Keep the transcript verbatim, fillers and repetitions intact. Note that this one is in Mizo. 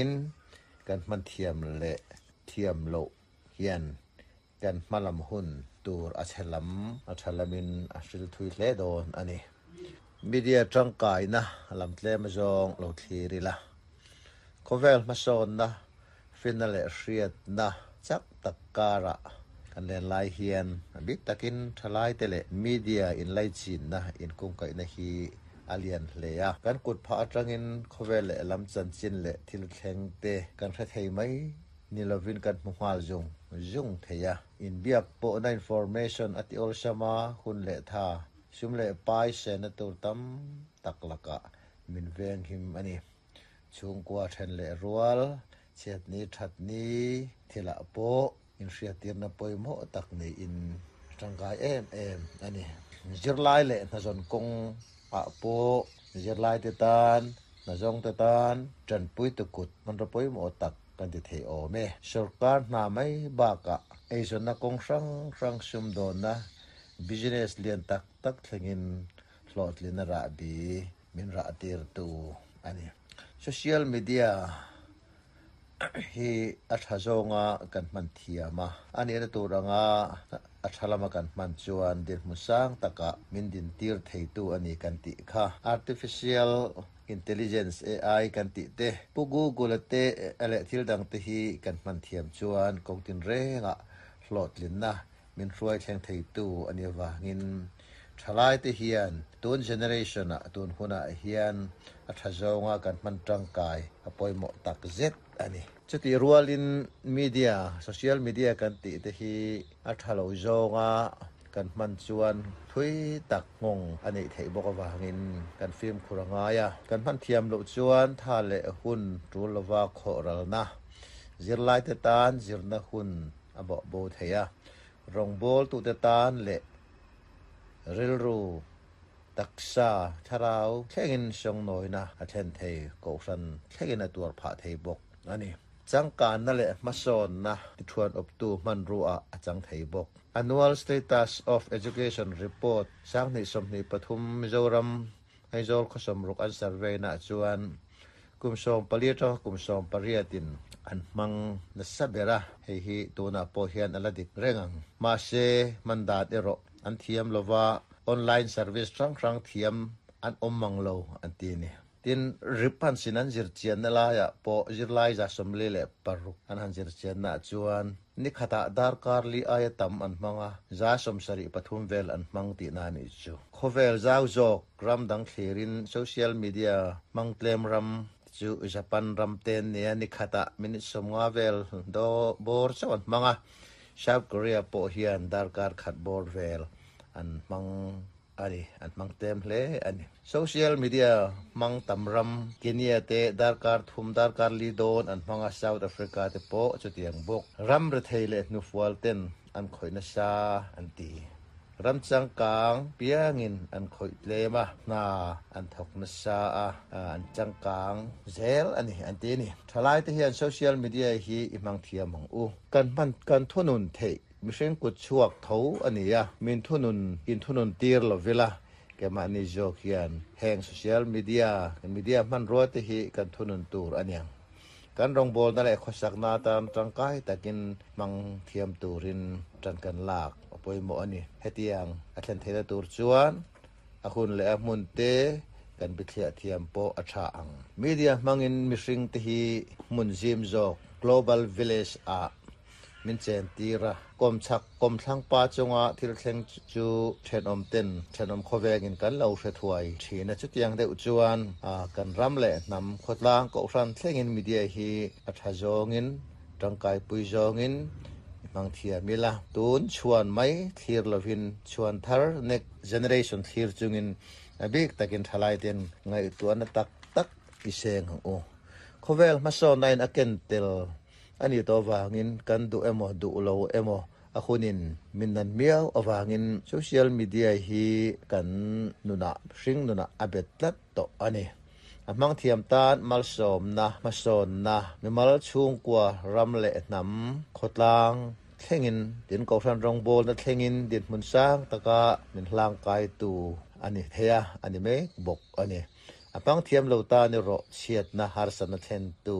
In kan hman thiam leh thiam loh hian kan hmalam hun tur a chhe lam a tha lamin a hril thui hle dawn a ni. Media tangkaina lam tlem zawng lo thlir ila. Khawvel hmasawnna finna leh hriatna chak tak karah kan len lai hian a bik takin thalai te leh media inlaichinna inkungkaihna hi a lian hle a. Kan kut phah atangin khawvel leh lam chanchin leh thil thleng te kan hre thei mai ni lovin kan hmu nghal zung zung thei a. Inbiak pawhna information a ti awlsam a hun leh tha sum leh pai sena tur tam tak lakah min veng him a ni. Chhungkua then leh rual chhiatni thatni thilah pawh inhriattirna pawimawh tak niin tangkai em em a ni. Zirlai leh hnazawn kawng ah pawh zirlai te tan hnazawng te tan tanpui tu kut hmanraw pawimawh tak kan ti thei awm e. Sorkar hna mai bakah eizawnna kawng hrang hrang sum dawnna business lian tak tak thlengin hlawhtlin a rahbi min rah tir tu a ni. Social media hi a tha zawnga kan hman thiam a. A nihna tur anga a tha lama kan hman chuan dinhmun sang takah min din tir thei tu a ni kan tih kha. Artificial Intelligence A I kan tih te pu Google te leh thil dang te hi kan hman thiam chuan kawng tin rengah hlawhtlinna min hruai thleng thei tu a ni avangin thalai te hian tun generation ah tun hunah hian a tha zawnga kan hman tangkai a pawimawh tak zet a ni. Chuti rualin media social media kan tih te hi a tha lo zawnga kan hman chuan thui tak nghawng a neih theih bawk avangin kan fimkhur a ngai a. Kan hman thiam loh chuan tha leh hun tul lova khawh ralna zirlai te tan zirna hun a bawh bo thei a. Rawngbawl tu te tan leh rilru taksa thlarau thlengin sawngnawina a thlen thei kohhran thlengin a tuar phah thei bawk a ni. Changkanna leh hmasawnna tithuan awptu hmanrua a chang thei bawk. Annual Status of Education Report sanghnih sawmhnih pathum Mizoram Aizawl khaw sawmruk an survey na chuan kum sawm pali atanga kum sawm pariatin an hmang nasa ber a. Hei hi tunah pawh hian a la dik reng ang. Mahse hman dan erawh an thiam lova online service hrang hrang thiam an awm mang lo an ti ni. Tin rip han sin an zir chianna laiah pawh zirlai za sawmli leh paruk an han zir chianna chuan ni khatah darkar li aia tam an hmang a za sawmsarih pathum vel an hmang tihna a nih chu. Khawvel zau zawk ram dang thlirin social media hmang tlem ram chu Japan ram ten nia ni khatah minute sawmnga vel do bawr chauh an hmang a. South Korea pawh hian darkar khat bawr vel an hmang a ni an hmang tlem hle a ni. Social media hmang tam ram Kenya te darkar thum darkar li dawn an hmang a South Africa te pawh chutiang bawk. Ram rethei leh hnufual ten an khawih nasa an ti. Ram changkang piangin an khawih tlem a hna an thawk nasa a an changkang zel a ni an ti a ni. Thalai te hian social media hi i hmang thiam ang u. Kan hman kan thunun theih mihring kut chhuak tho a ni a. Min thunun in thunun tir lovila kemahni zawk hian heng social media media hmanrua te hi kan thunun tur a niang. Kan rawngbawlna leh khawsakna atan tangkai takin hmang thiam turin tan kan lak a pawimawh a ni. Hetiang a thlen theihna tur chuan a hun leh a hmun te kan bithliah thiam pawh a tha ang. Media hmangin mihring te hi hmun zim zawk global village ah min chen tir a. Kawm chhak kawm thlang pa chunga thil thleng chu thenawm ten thenawm khawvengin kan lo hre thuai thin a. Chutiang deuh chuan kan ram leh hnam khawtlang kohhran thlengin media hi a tha zawngin tangkai pui zawngin i hmang thiam ila. Tun chhuan mai thlir lovin chhuan thar next generation thlir chungin a bik takin thalai ten ngaihtuahna tak tak i seng ang u. Khawvel hmasawnna in a ken tel a ni tawh avangin kan duh emaw duh lo emaw a hunin min nan miau avangin social media hi kan nunah hring nunah a bet tlat tawh a ni. A hmang thiam tan malsawmna hmasawnna mimal chhungkua ram leh hnam khawtlang thlengin tin kohhran rawngbawlna thlengin dinhmun sang taka min hlangkai tu a ni thei a a ni mek bawk a ni. A hmang thiam lo tan erawh chhiatna harsatna thlen tu